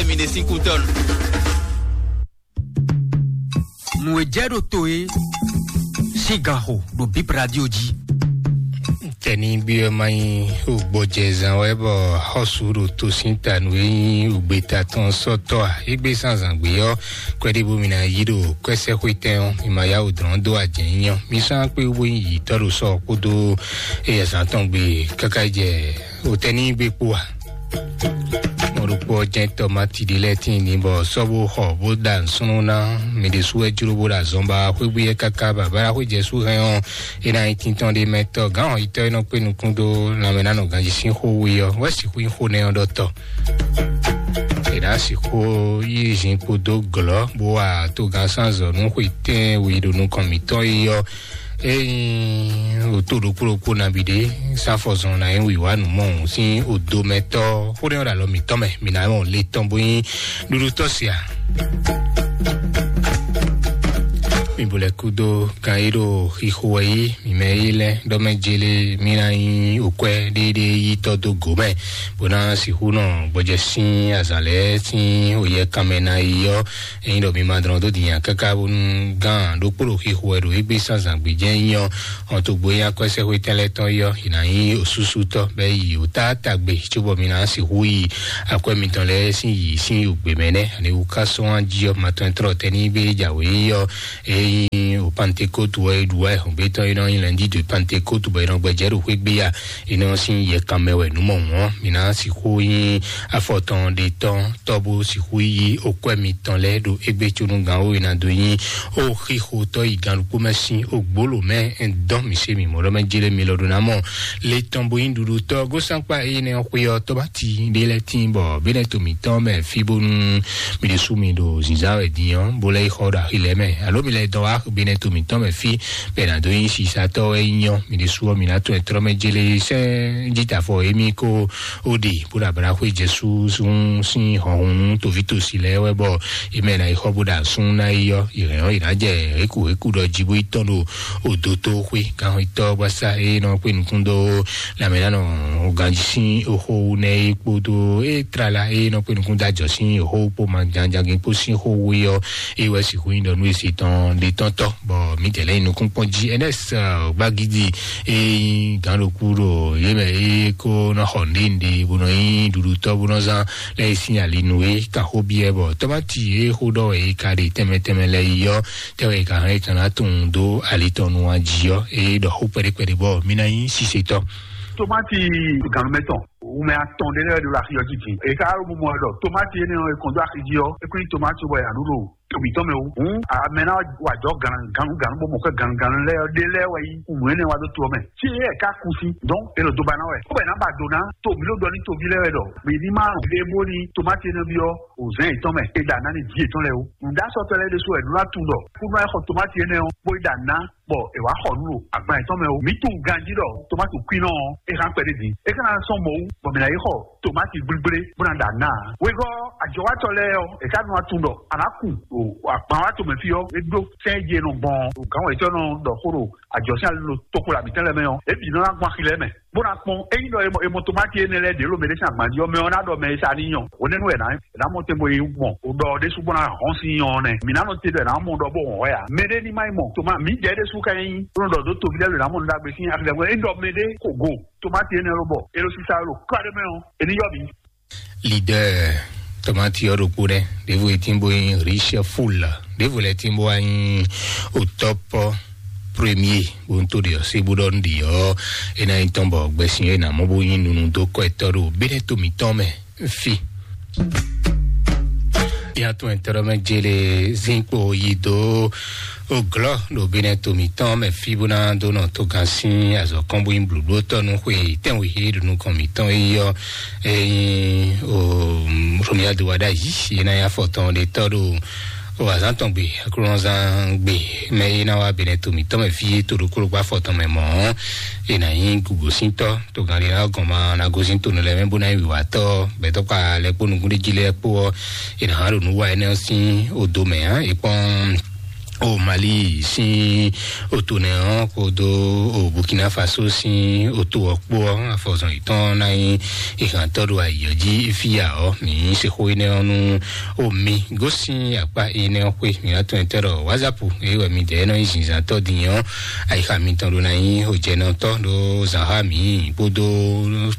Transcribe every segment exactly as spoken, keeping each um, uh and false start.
Mi ɖe sín kú tɔn. Nǔ e jɛ ɖo to e sín gan xo ɖo Bib Radio jí. Tɛnigbe ɔ́ ma nyí wǒgbɔjɛzán wɛ bɔ xɔ́sú ɖo to sín ta nǔ e nyí wǔgbeta tɔn sɔ́tɔ́ a? Égbé zǎnzǎn gbé ɔ́, kwɛ́ɖíbú mi ná yí ɖo kwɛ́sɛ́xwétɛn ɔ́, mi ma yá wǔ dlɔ́n dó ajɛ̌nyínyɔ́. Mi sɔ́ ná kpé wú bó nyí yǐtɔ́ ɖo sɔ kpódó eyɛzán tɔn gbe káká yi jɛ wǒtɛ́ ní gbe kpó a? Mɔɖokpó ɔ́ jɛ́n tɔmáti ɖé lɛ́ɛ tíin ní bɔ sɔ́ bó xɔ bó ɖa nǔsúnnú ná mɛ ɖésú wɛ jló bó ɖo azɔn ba xwégbé yɛ káká bɔ abáɖáxwé jɛ sú hɛn ɔ́, é ná nyí tíntɔ́n ɖé mɛ tɔ́ gǎn ɔ́ yitɔ́ é nɔ kpé nukún dó lanmɛ ná nɔ ganjí sín xó we ɔ́ wɛ sixú nyí xó nɛ́ ɔ́ ɖɔ tɔ. É ná sixú yí zin kpódó glɔ̌ bó wa togán sán azɔ̌ nú xwe tɛ́nwe ɖo nukɔn mǐtɔn é ɔ́, ényí wǒ to ɖokpó ɖokpó nabí ɖé sán afɔzɔn ná nyí wǐwá nǔ mɔ sín odomɛtɔ́ xó nɛ́ ɔ́ ɖo alɔ mǐtɔn mɛ, mǐ ná mɔ le tɔn bó nyí ɖuɖutɔ́ sia. Mi bo lɛ kúdó kan e ɖo xixo wɛ yí mi mɛ yí lɛ ɖɔ mɛ jele mi ná nyí okwɛ ɖéɖé yí tɔ dó go mɛ bó ná sixú nɔ gbɔjɛ sín azǎn lɛ́ɛ sín oyɛ kanmɛ ná yi ɔ́. Ényí ɖɔ mi ma dlɔn dó din nya káká bónú gán ɖokpó ɖo xixo wɛ ɖo égbé zǎnzǎn gbé jɛ́n nyí ɔ́, ɔn togbo nyí akwɛ́sɛ́xwétɛn lɛ́ɛ tɔn yi ɔ́, è nǎ nyí osúsú tɔ́ bɔ é yi òtáta gbe cóbɔ mi ná sixú yi akwɛ́ mitɔn lɛ́ɛ sín yi sín yǒgbé mɛ nɛ́. Ani wú ká sɔ́n jí ɔ́, ma tɔn tlɔ́ tɛ́ ní bé jǎwe yi ɔ́, ényí o Pantekótu wɛ é ɖu wá ɛhɔ̌ngbétɔn e nɔ nyí lɛndí de Pantekótu bɔ è nɔ gbɛjɛ́ ɖo xwé gbé ya, è nɔ sín yɛ kanmɛ wɛ nǔ mɔ hǔn ɔ́, mi ná sixú nyí afɔtɔn ɖe tɔn tɔ́ bó sixú yí okwɛ́ mitɔn lɛ́ɛ ɖo égbé cónú gǎn wó e ná dó nyí ó xixo tɔ́ yi gǎn ɖokpó mɛ sín ogbóló mɛ. Dɔn mi se mi mɔɖɔ mɛ jele mi lɔ ɖo ná mɔ le tɔn bo nyí ɖuɖu tɔ́ gósánkpá énɛ́ ɔ́ xwé ɔ́ tɔ́báti ɖé lɛ́ɛ tíin bɔ bínɛ́ to mǐtɔn mɛ fí bónú mi ɖésú mi ɖo zǐnzán wɛ din ɔ́ bó lɛ́ yi xɔ ɖo axi lɛ́ɛ mɛ alo mi lɛ́ dɔn wá bínɛ́ to mǐtɔn mɛ fí bɔ è nǎ dó nyí sisatɔ́ wɛ nyí ɔ́, mi ɖésú ɔ́ mi ná tunwun ɛtrɔ́ mɛ jele sɛ́n jítafɔ émí kó ó ɖe bó ɖo ablaxwé jɛsú sín hɔnhun toví tosi lɛ́ɛ wɛ bɔ é mɛ ná yi xɔ bó ɖo asún ná yi ɔ́, yě hɛn ɔ́ yě ná jɛ hékuhéku ɖɔ jí bó yi tɔn ɖo odotoxwé kanxɔtɔ́ gbasá e nɔ kpé nukún dó lanmɛnánɔ ganjí sín oxó nɛ é kpódó é tlala e nɔ kpé nukún dó ajɔ sín oxó kpó ma janjagin kpó sín xó wé ɔ́, é wɛ sixú nyí ɖɔ nú esi tɔn ɖe tɔn tɔ bɔ mǐdɛɛ lɛ́ nyi nukún kpɔ́n jí. Ɛnɛs gbagidi e nyí gǎn ɖokú ɖo yě mɛ é kó nɔ xɔ nǔɖé nǔɖé bó nɔ nyí ɖuɖutɔ́ bó nɔ zán lɛ́ yi sín ali nú é kan xó byɔ́ bɔ tɔ́máti e xó ɖɔ wɛ é ka ɖe tɛnmɛ tɛnmɛ lɛ́ɛ yi ɔ́, tɛ́ wɛ é ka hɛn é ka ná tunwun dó ali tɔn nu wá jí ɔ́, é ɖɔ xó kpɛɖé kpɛɖé bɔ mí ná nyí sisetɔ́. Tomati gannumɛ tɔn wumɛ atɔn ɖé lɛ́ɛ ɖo axi ɔ́ jí din. È ka ɖo mɔ ɖɔ tomati énɛ́ ɔ́, è kɔn dó axi jí ɔ́, é kún nyí tomati bɔ è nǎ ɖu ɖo tobǐtɔn mɛ o. Hǔn amɛ ná wa jɔ gannuganu bó mɔ xɛ gannuganu lɛ́ɛ ɔ́, ɖé lɛ́ɛ wɛ nyí nǔ énɛ́ wá dó to ɔ́ mɛ. Fí e é ka kú sín, donc é ɖo dó ba ná wɛ. Bó bɔ è nǎ ba do ná to mǐ ɖo ɖɔ ní toví lɛ́ɛ wɛ ɖɔ mǐ ní má ɖe bó ní tomati énɛ́ byɔ́ o zɛ̌n yětɔn mɛ, è ɖo aná ní vǐ yětɔn lɛ́ɛ o. Nǔɖásɔtɔ́ lɛ́ɛ ɖésú wɛ nǔ ná tunwun ɖɔ kúnú wá xɔ tomati énɛ́ ɔ́, bó yi ɖo aná bɔ è wǎ xɔ nǔ ɖo agban yětɔn mɛ o. Mǐ tunwun ganjí ɖɔ tomati kwínɔ ɔ́, é hán kpɛɖé din. É ka ná sɔ́ mɔ̌ wú bɔ mǐ ná yi xɔ tomati gblígblé bó ná ɖo aná ǎ. Wegɔ́ ajɔwátɔ́ lɛ́ɛ ɔ́, è ka nɔ tunwun ɖɔ a nǎ kun ɖo agban wá tomɛ fí ɔ́, é ɖó sɛ́n e jí è nɔ gbɔn ɔ́, ɖo gǎn wɛ̌tɔ́ nɔ ɖɔ xó ɖo ajɔ̌ sín ali ɖo toxo ɖo mǐtɛn lɛ́ɛ mɛ ɔ́, é bǐ nɔ ná gbɔn axi lɛ́ɛ mɛ. Bó ná kpɔ́n, ényí ɖɔ è mɔ tomati énɛ́ lɛ́ɛ ɖě ɖo mɛɖé sín agban jí ɔ́, mɛ ɔ́ ná ɖɔ mɛ e sa ní nyɔ. Hwenɛ́nu wɛ è nǎ mɔ tɛn bo yi gbɔn, ɖɔ ɖésú bó ná hɔn sín nyɔ ɔ́ nɛ́. Mǐ ná nɔ te ɖɔ è nǎ mɔ ɖɔ bó hɔn hwɛ ǎ. Mɛɖé ní má yi mɔ. Toma, mǐdɛɛ ɖésú ka nyí, bó nɔ ɖɔ dó toví lɛ́ɛ ɖo è nǎ mɔ nǔ ɖagbe sín axi lɛ́ɛ mɛ. É ɖɔ mɛɖé xo go. Tomati énɛ́ ló bɔ, é ɖo sísá ló kpá ɖé mɛ ɔ́, é ní yɔ mǐ. Leader tomati ɔ́ ɖokpó ɖɛ, ɖěvo e tín bó nyí Richard Full, ɖěvo lɛ tín bó wá nyí au top premier, bó ń tó ɖe ɔ́, sé bó ɖɔ nú ɖi ɔ́, é ná nyí tɔn bɔ gbɛsin é ná mɔ bó nyí nunu dó kɔ etɔ́ ɖo béɖɛ́ to mǐtɔn mɛ fí. Yàtọ̀ ẹ̀tọ́rọ́ mɛ jele zinkpo yi dó oglɔ ɖo bénɛ to mǐtɔn mɛ fí bó ná dó nɔ tó gán sín azɔ̌ kɔn bó nyí blǔbló tɔ́ nú xwe tɛ́nwe é ɖo nukɔn mǐtɔn é yɔ. Ényí o Romia do wa ɖ'ayǐ é ná nyí afɔtɔn ɖe tɔ́ ɖo o azǎn tɔn gbe aklúnɔzán gbe mɛ é ná wá bénɛ to mǐtɔn mɛ fí é to ɖokpó ɖokpó afɔtɔn mɛ mɔ̌ é ná nyí gǔgosíntɔ́ to gǎn ɖé ná gɔn ma ná gosín to nɔ lɛ́ɛ mɛ bó ná nyí wǐwátɔ́ gbɛtɔ́ kpa lɛ́ kpó nukúnɖéjí lɛ́ɛ kpó ɔ́ é ná hán ɖo nǔ wa énɛ́ ɔ́ sín odo mɛ ǎ é kpɔ́n O Mali sín oto nɛ ɔ́ kpódó o Burkina Faso sín oto ɔ́ kpó ɔ́, afɔzɔn yětɔn ná nyí ìhàntɔ́ ɖo ayǐ ɔ́ jí fí ya ɔ́. Mǐ se xó énɛ́ ɔ́ nú o mi gosín akpá énɛ́ ɔ́ xwé. Mǐ ná tɔn tɛ́ ɖɔ WhatsApp é wɛ mi dɛ̌ nɔ nyí zinzǎntɔ́ din ɔ́, ayixa mitɔn ɖó ná nyí òjɛnɔtɔ́ ɖó zǎnxá mǐ kpódó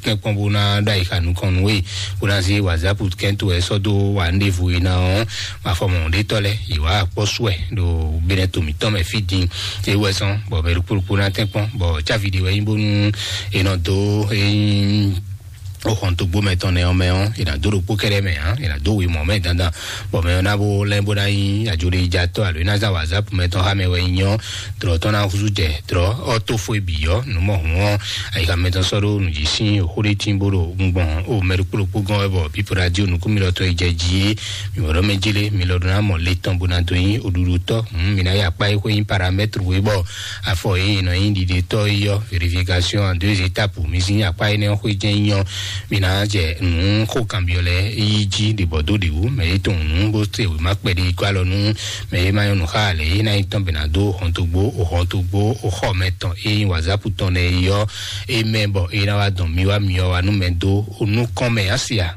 tɛ́nkpɔ́n bó ná ɖó ayixa nukɔn nú we, bó ná zé WhatsApp kɛ́ntó wɛ sɔ́ dó wa nɖěvo e ná ɔ́. Mafɔmɔ ɖétɔ́ lɛ́ɛ yě wá kpɔ́ sú wɛ ɖo Benɛto mǐtɔn mɛ fí din. É wɛ zɔn bɔ mɛ ɖokpó ɖokpó ná tɛ́nkpɔ́n bɔ cávi ɖé wɛ nyí bónú è nɔ dó é nyí o xɔntogbo mɛ tɔn nɛ ɔ́ mɛ ɔ́, è nǎ dó ɖokpó kɛ́ɖɛ́ mɛ ǎ, è nǎ dó wěmɔ mɛ dandan, bɔ mɛ ɔ́ ná bó lɛ́ bó ná nyí ajoɖejatɔ́ alo é ná zán WhatsApp mɛ tɔn xá mɛ wɛ nyí ɔ́, dlɔ̌ tɔn ná húzú jɛ dlɔ̌ ɔ́ tó fó e bǐ ɔ́, nǔ mɔ hǔn ɔ́, ayixa mɛ tɔn sɔ́ ɖó nǔ jí sín xó ɖé tín bó ɖo gbɔn o mɛ ɖokpó ɖokpó gɔ́n wɛ bɔ pípo radio nukúnmilɔtɔn e jɛ jí é, mi wɛ ɖɔ mɛ jélé mi lɔ ɖó ná mɔ le tɔn bó ná dó nyí oɖuɖutɔ́. Hǔn mi ná yi akpá e xwé nyí paramètre e bɔ afɔ e nɔ nyí ɖiɖetɔ́ é ɔ́, vérification en deux étapes, mi sín akpá énɛ́ ɔ́ xwé jɛ́n nyí ɔ́, mi ná jɛ nǔ xó kanbyɔ́ lɛ́ɛ yi jí ɖě bɔ dó ɖě wú. Mɛ e tunwun nǔ bó se wěma kpɛɖé yi kó alɔ nú mɛ e ma nyɔ́ nǔ xá ǎ lɛ́ɛ é ná nyí tɔn bɛ̌ ná dó hɔntogbo o hɔntogbo o xɔ mɛ tɔn e nyí WhatsApp tɔn lɛ́ɛ yi ɔ́, é mɛ bɔ é ná wá dɔn mi wá mi ɔ́ wá nú mɛ dó o nukɔn mɛ á se a?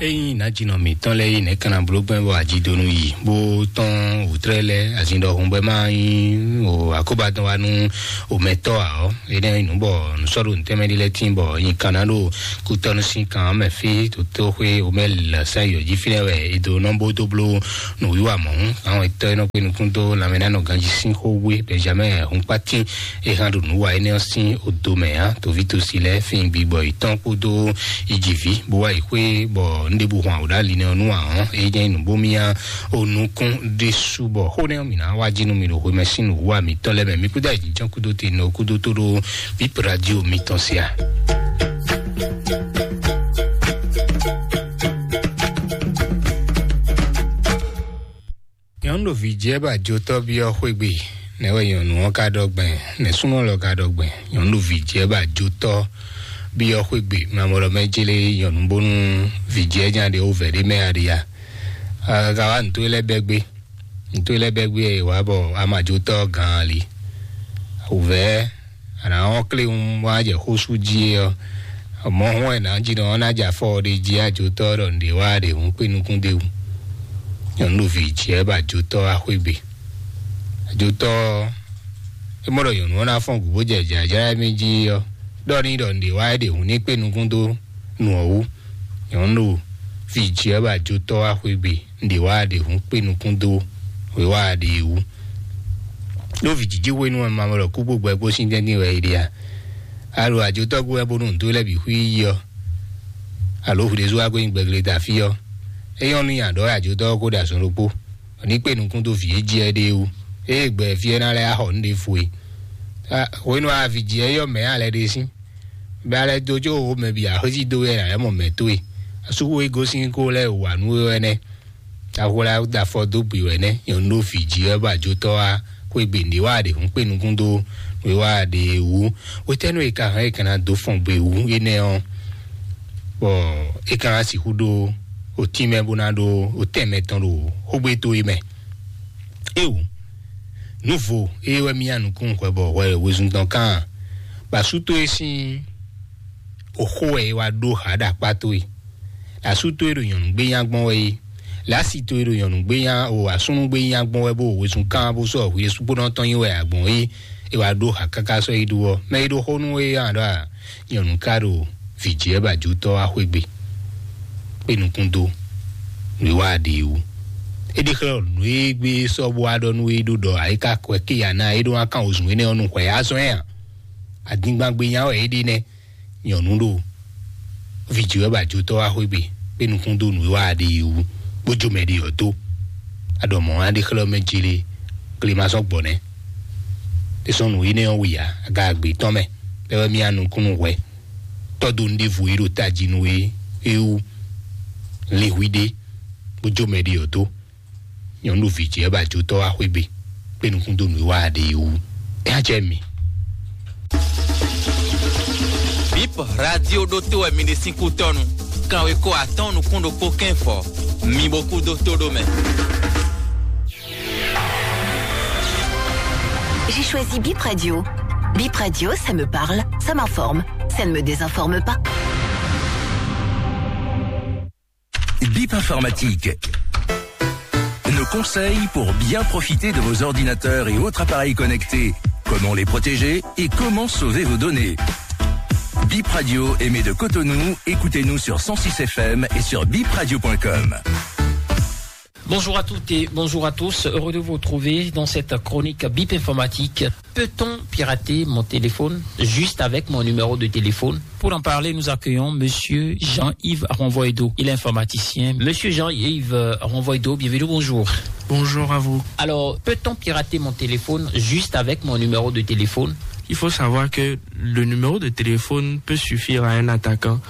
Ényí nǎjínɔ mǐtɔn lɛ́ɛ yi nɛ̌ kanna bló gbɛ́ bɔ ajidonu yi bó tɔ́n wǔtrɛ́ lɛ́ɛ azin ɖɔhun bɔ é má nyí o akóbadɔn wá nú omɛtɔ́ ǎ ɔ́, énɛ́ nyí nǔ bɔ nǔsɔ́ɖo nǔtɛ́mɛ ɖé lɛ́ɛ tíin bɔ nyi kanna ɖo kútɔ́nú sín kan ɔ́ mɛ fí. Dotóxwé omɛ lɛ̌sán yɔ̌ jí fínɛ́ wɛ è dó nɔ bó dó bló nǔwiwa mɔ̌hún. Àwọn etɔ́ e nɔ kpé nukún dó lanmɛnánɔ ganjí sín xó wé Benjamin Hunkpatín e hɛn ɖo nǔ wa énɛ́ ɔ́ sín odo mɛ ǎ. Toví tosi lɛ́ɛ fín gbigbɔ yětɔn kpódó yi ji vǐ bó wá yi xwé bɔ un ɖěbǔ hɔn awǒ ɖo ali nɛ́ ɔ́ nú ǎ ɔ́, é jɛ́n nyí nǔ bó myá o nukún ɖésú bɔ xó nɛ́ ɔ́ mǐ ná wá jí nú mi ɖo xwemɛ sín nǔwiwa mǐtɔn lɛ́ɛ mɛ. Mi kúdó ayǐjínjɔ́n kúdó te nɔ kúdó tó ɖó bíp radio mitɔn se a? Nyɔ̌nu ɖo vǐ jɛ bɔ ajotɔ́ byɔ́ xwé gbe. Nɛ̌ wɛ nyɔ̌nu ɔ́ ka ɖɔ gbɛn? Nɛ̌ súnnu lɔ ka ɖɔ gbɛn? Nyɔ̌nu ɖo vǐ jɛ bɔ ajotɔ́ byɔ́ xwé gbe. Mamɔlɔ mɛ jlé nyɔ̌nu bónú vǐ jɛ nya ɖe wó vɛ̌ ɖé mɛ a ɖe ya? Ka wá nǔ towe lɛ́ɛ bɛ́ gbé. Nǔ towe lɛ́ɛ bɛ́ gbé wɛ è wǎ bɔ a ma ajotɔ́ gǎn ali. Wǔvɛ́ a nǎ wɔ́n kléwún bó ná jɛ xó sú jí é ɔ́, mɔ̌ hɔn wɛ nǎ jí nɔ ɔ́ ná jɛ afɔ ɖé jí ajotɔ́ ɖɔ nǔɖé wá ɖě hǔn kpé nukún d'é wú. Nyɔ̌nu ɖo vǐ jí wɛ bɔ ajotɔ́ wá xwé gbe. Ajotɔ́ ɔ́, é mɔ ɖɔ nyɔ̌nu ɔ́ ná fɔ́n gǔ bó jɛ jǎjlá émí jí ɔ́, ɖɔ n'i ɖɔ nǔɖé wá é ɖě hǔn ní kpé nukún dó nu ɔ́ wú. Nyɔ̌nu ɖo vǐ jí wɛ bɔ ajotɔ́ wá xwé gbe, nǔɖé wá ɖě hǔn kpé nukún dó wěwá ɖě wú. Ɖó vǐ jiji hwenu ɔ́, ma mɔ ɖɔ kú kpó gbɛ kpó sín tɛ́ntin wɛ è ɖe a? A ɖo ajotɔ́ gbe wɛ bónú nǔ towe lɛ́ɛ bǐ xwí yi ɔ́, alo hwi ɖésú wá gbe nyi gbɛgleta fí ɔ́, é nyɔ́ nú nyi aɖɔ̌ ajotɔ́ ɔ́ kó ɖo azɔn ɖokpó, bɔ ní kpé nukún dó vǐ e jí ɛ ɖe é wú. Ée gbɛ fí ɛ ná lɛ́ axɔ nǔ ɖěvo e. Hwenu a vǐ jí ɛ yɔ mɛ̌ a lɛ́ ɖe sín? Bɛ a lɛ́ dó có wǒ mɛ bǐ axwézí dó wɛ ǎ lɛ́ mɔ mɛ̌ towe. Asúxwé gosín kó lɛ́ wǎ nú we wɛ nɛ́. Ahwla da afɔ dó gbe wɛ nɛ́, nyɔ̌nu ɖo vǐ jí wɛ bɔ ajotɔ́ wá xwé gbe nǔɖé wá ɖě hǔn kpé nukún dó nǔ e wá ɖě wú. Hwetɛ́nu e ka hɛn e ka ná dó fɔn gbe wú énɛ́ ɔ́, bɔ é ka ná sixú ɖó otínmɛ bó ná ɖó otɛn mɛtɔn ɖo xógbé towe mɛ? Éeǒ, nǔvo ée wɛ mì nyi nukún hwɛ bɔ hwɛ wezun tɔn kan, bɔ asú towe sín oxó wɛ é wá ɖó hǎ ɖo akpá towe. Asú towe ɖo nyɔ̌nu gbé nya gbɔn wɛ é. Lě asi towe ɖo nyɔ̌nu gbé nya o asúnú gbé nya gbɔn wɛ bó wezun kán bó sɔ́ hwi e sukpónɔ tɔn nyi wɛ a gbɔn é. É wá ɖó hǎ káká sɔ́ yi ɖu ɔ́, mɛ e ɖo xó nú é ɔ́ ɖɔ a? Nyɔ̌nu ka ɖo vǐ jí wɛ bɔ ajotɔ́ wá xwé gbe, kpé nukún dó nǔ e wá ɖe é wú. É ɖi xlɛ́ nǔ e gbé sɔ́ bó wá ɖɔ nú é ɖó ɖɔ ayíká kwɛ ké ya ná é ɖó wá kán wozun énɛ́ ɔ́ nú hwɛ azɔn ɛ a? Adingban gbé nya wɛ é ɖe nɛ́. Nyɔ̌nu ɖo vǐ jí wɛ bɔ ajotɔ́ wá xwé gbe, kpé nukún dó nǔ e wá ɖe é wú, bó jó mɛ ɖé ɔ́ dó. Aɖɔ mɔ̌ á ɖe xlɛ́ mɛ jlé, gle ma sɔ́ gbɔ nɛ́. É sɔ́ nǔ énɛ́ ɔ́ wǐ ǎ, aga agbe tɔn mɛ, bɛ́ wɛ mì nyi nukún nú hwɛ. Tɔ́ dó nǔɖévo e ɖo tají nú we é wú. Lin hwi ɖé, bó jó mɛ ɖé ɔ́ dó. Nyɔ̌nu ɖo vǐ jí wɛ bɔ ajotɔ́ wá xwé gbe, kpé nukún dó nǔ e wá ɖe é wú. É á jɛ mi. Bip radio ɖótó wɛ mi ɖe sín kútɔ́nu. Kanwekó atɔ́ɔ́n nukún ɖokpó kɛ́n fɔ, mi bo kú dó tó ɖó mɛ. J'ai choisi Bip Radio. Bip Radio, ça me parle, ça m'informe, ça ne me désinforme pas. Bip Informatique. Nos conseils pour bien profiter de vos ordinateurs et autres appareils connectés. Comment les protéger et comment sauver vos données. Bip Radio émet de Cotonou. Écoutez-nous sur cent six F M et sur bip radio point com. Bonjour à toutes et bonjour à tous. Heureux de vous retrouver dans cette chronique Bip Informatique. Peut-on pirater mon téléphone juste avec mon numéro de téléphone ? Pour en parler, nous accueillons Monsieur Jean-Yves Renvoido. Il est informaticien. Monsieur Jean-Yves, euh, Renvoido, bienvenue, bonjour. Bonjour à vous. Alors, peut-on pirater mon téléphone juste avec mon numéro de téléphone ? Il faut savoir que le numéro de téléphone peut suffire à un attaquant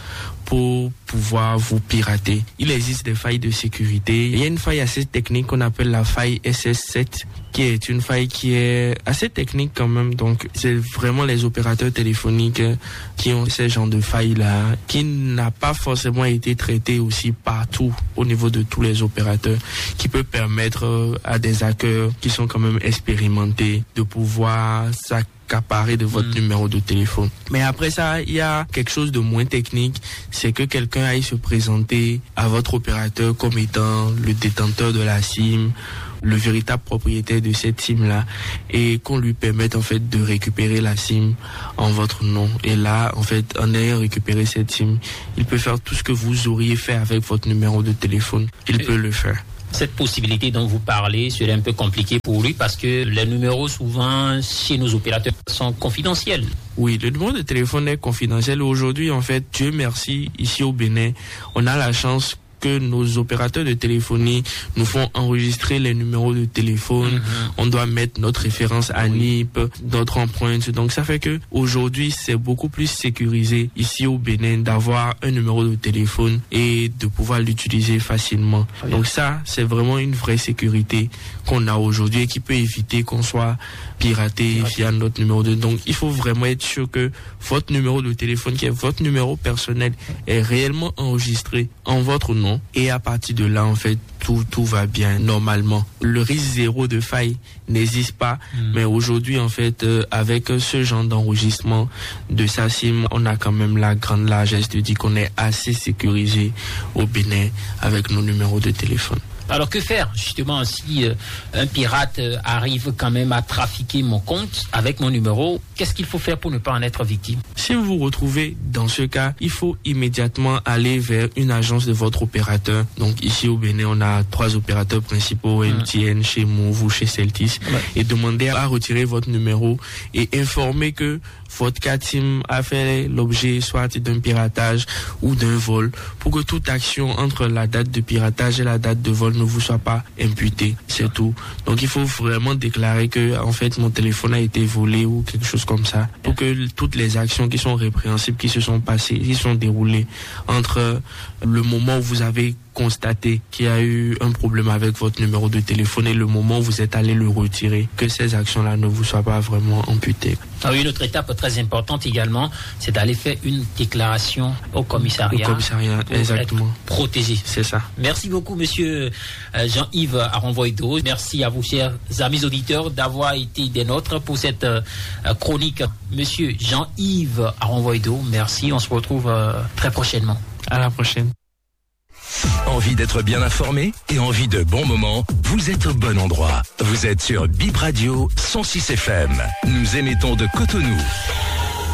pour pouvoir vous pirater. Il existe des failles de sécurité. Il y a une faille assez technique qu'on appelle la faille S S sept, qui est une faille qui est assez technique quand même. Donc, c'est vraiment les opérateurs téléphoniques, euh, qui ont ce genre de faille-là, qui n'a pas forcément été traité aussi partout au niveau de tous les opérateurs, qui peut permettre, euh, à des hackers qui sont quand même expérimentés de pouvoir s'accaparer de votre numéro de téléphone. Mais après ça, il y a quelque chose de moins technique, c'est que quelqu'un aille se présenter à votre opérateur comme étant le détenteur de la SIM, le véritable propriétaire de cette SIM-là, et qu'on lui permette en fait de récupérer la SIM en votre nom. Et là, en fait, en ayant récupéré cette SIM, il peut faire tout ce que vous auriez fait avec votre numéro de téléphone. Il peut le faire. Cette possibilité dont vous parlez serait un peu compliquée pour lui parce que les numéros souvent chez nos opérateurs sont confidentiels. Oui, le numéro de téléphone est confidentiel. Aujourd'hui, en fait, Dieu merci, ici au Bénin, on a la chance que nos opérateurs de téléphonie nous font enregistrer les numéros de téléphone. On doit mettre notre référence à NIP, notre empreinte. Donc ça fait que aujourd'hui, c'est beaucoup plus sécurisé ici au Bénin d'avoir un numéro de téléphone et de pouvoir l'utiliser facilement. Donc ça, c'est vraiment une vraie sécurité qu'on a aujourd'hui et qui peut éviter qu'on soit piraté via notre numéro de... Donc il faut vraiment être sûr que votre numéro de téléphone, qui est votre numéro personnel, est réellement enregistré en votre nom. Et à partir de là, en fait, tout, tout va bien normalement. Le risque zéro de faille n'existe pas. Mais aujourd'hui, en fait, euh, avec ce genre d'enregistrement de sa SIM, on a quand même la grande largesse de dire qu'on est assez sécurisé au Bénin avec nos numéros de téléphone. Alors que faire justement si euh, un pirate euh, arrive quand même à trafiquer mon compte avec mon numéro ? Qu'est-ce qu'il faut faire pour ne pas en être victime ? Si vous vous retrouvez dans ce cas, il faut immédiatement aller vers une agence de votre opérateur. Donc ici au Bénin, on a trois opérateurs principaux, M T N, chez Moov ou chez Celtis, et demander à retirer votre numéro et informer que votre carte SIM a fait l'objet soit d'un piratage ou d'un vol, pour que toute action entre la date de piratage et la date de vol ne vous soit pas imputée. C'est tout. Donc il faut vraiment déclarer que en fait mon téléphone a été volé ou quelque chose comme ça, pour que toutes les actions qui sont répréhensibles, qui se sont passées, qui sont déroulées entre le moment où vous avez constaté qu'il y a eu un problème avec votre numéro de téléphone et le moment où vous êtes allé le retirer, que ces actions-là ne vous soient pas vraiment imputées. Ah oui, une autre étape très importante également, c'est d'aller faire une déclaration au commissariat. Au commissariat, pour exactement. Être protégé. C'est ça. Merci beaucoup, monsieur euh, Jean-Yves Aronvoido. Merci à vous, chers amis auditeurs, d'avoir été des nôtres pour cette euh, chronique. Monsieur Jean-Yves Aronvoido, merci. On se retrouve euh, très prochainement. À la prochaine. Envie d'être bien informé et envie de bons moments ? Vous êtes au bon endroit. Vous êtes sur Bip Radio cent six F M. Nous émettons de Cotonou.